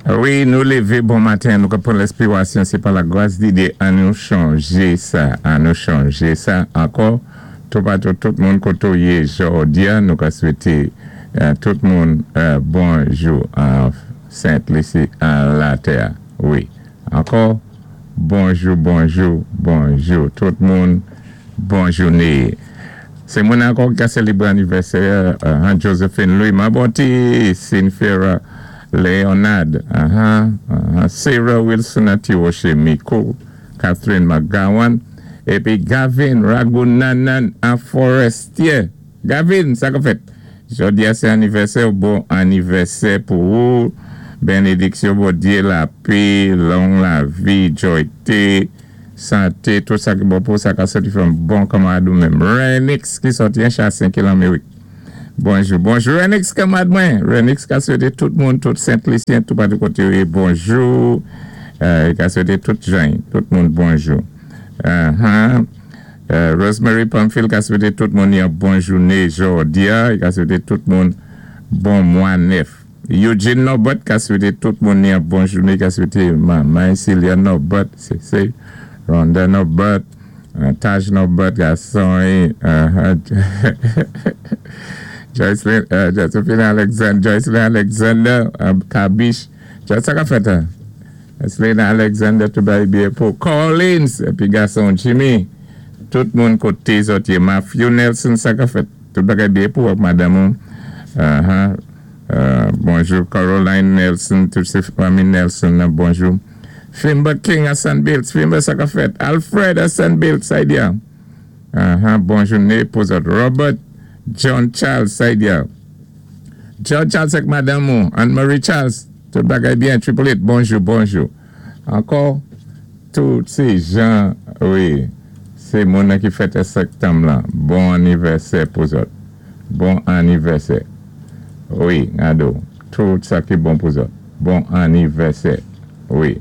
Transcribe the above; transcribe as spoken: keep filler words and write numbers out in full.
Wi, nou lévé bon maten, nou pwan lenspirasyon, sé pa la gwas di Dye, an nou chanjé sa, an nou chanjé sa ankò. Toupatou tout moun koto yé jòdi-a, nou ka swété euh, tout moun euh, bonjou an Sent Lisi, an latè. Wi. Ankò, bonjou, bonjou, bonjou. Tout moun, bon jouné. Sé moun ankò ki ka sélébré anivèsè, euh, Josephine Louis Maboti, Cynthia Leonard, uh -huh, uh -huh, Sarah Wilson Atiwoche Miko, Catherine McGowan, épi Gavin Ragunanan an Forestier. Gavin, sa ka fèt? Jòdi-a sé anivèsè, bon anivèsè pou ou. Bénédiksyon, Bondye, lapè, long lavi, jwayté, santé, tout sa ki bon pou sa ka sòti fè bon kanmarad ou menm. Renix ki sòti an Chassin ki Lanmérik. Bonjou, bonjou Renix kanmarad mwen. Renix ka swété tout moun, tout Sent-Lisyen, tout patou koté bonjou. Euh, ka swété tout jan, tout moun bonjou. Uh -huh. euh, Rosemary Pamphile ka swété tout moun yon bon jouné jòdi-a, ka swété tout moun bon mwa nèf. Eugene Norbert ka swété tout moun yon bon jouné, ka swété manman Celia Norbert, sé sé Rhonda Norbert, uh, Taj Norbert, gason, uh, Joycelyn, uh, Josephine Alexander, Joycelyn Alexander, uh, Kabish, sa ka fèt, hein? Joycelyn Alexander, tout bagay byen pou Collins, épi gason Jimmy, tout moun koté zòt yé, Matthew Nelson, sa ka fèt, tout bagay byen pou madanm. Uh -huh. uh, bonjou Caroline Nelson, tout sé fanmi Nelson, bonjou. Fimba King a Bills, Fimba sa ka fèt, Alfred a Bills, sa di. Uh -huh. Bon jouné pou zòt. Robert John Charles, sa di. John Charles ak madanm Anne-Marie Charles, tout bagay byen, Triple Eight, bonjou, bonjou. Ankò, tout sé jan, wi, sé moun ki fèté septanm la. Bon anivèsè pou zòt. Bon anivèsè. Wi, ado, tout sa ki bon pou zòt. Bon anivèsè. Wi.